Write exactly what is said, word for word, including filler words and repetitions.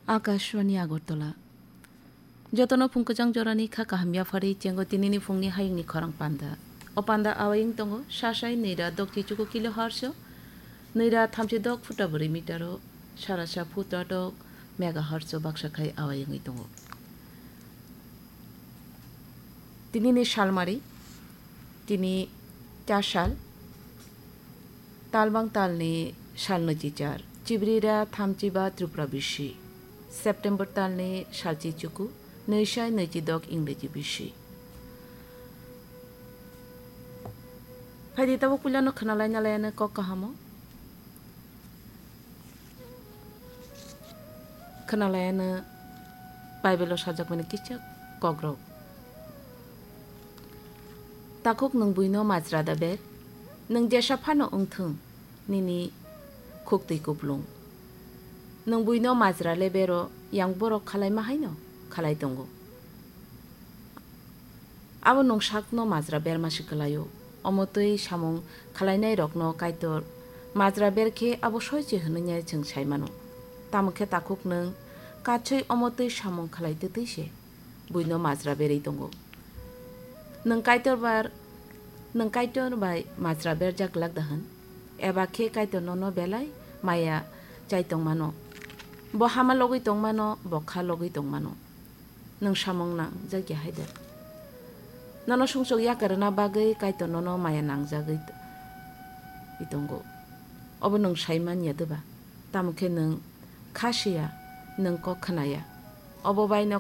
Akashvani Agartala. Jotono phung kwchang jorani kha kaham yaphari chengo tinini phungni hayungni khorang panda. O panda awayung tongo, sasai nwi ra dok chichuku kilohertz o, nwi ra thamchi dok phuta bwrwi meter o, sara sa phuta dok megahertz o baksa khai awayungwi tongo. Tinini salmari, tini char sal, talbang talni sal nwichichar, chibrira thamchiba Tripura bisi, September talni salchi chuku, nwisai nwichidok Ingreji bisi. Phaidi tabuk puilano khwnalaina layano kok kahamo. Khwnalaiyano Bible-o sajakmani kisa kokrok. Takhuk nwng buino majra da ber, nwng jesa phano wngthung, nini khuktwi kuplung. Nwng buino majra le bero, yang borok khalaima haino khalai tongo. Abo nwng sakno majra berma se kwlaio. Omo twi samung khlainairokno Kaitor majra ber khe abo soi se hwnwi chwng sai mano. Tamo khe takhuk nwng katswi omo twi samung khlai twtwi se buino majra berwi tongo. Nwng Kaitor bar, nwng Kaitor bai majra berjak glak da hwn? Eba khe Kaitor nono belai maya chai tong mano? Bo hama logwi tong mano, bo kha logwi tong mano. Nwng samung nangjak ya hai da? Nono sumsok yakarna bagwi Kaitor nono maya nangjagwi t-, i tongo. Obo nwng sai man ya de ba? Tamo khe nwng kha si ya, nwng kok khna ya. Obo bai no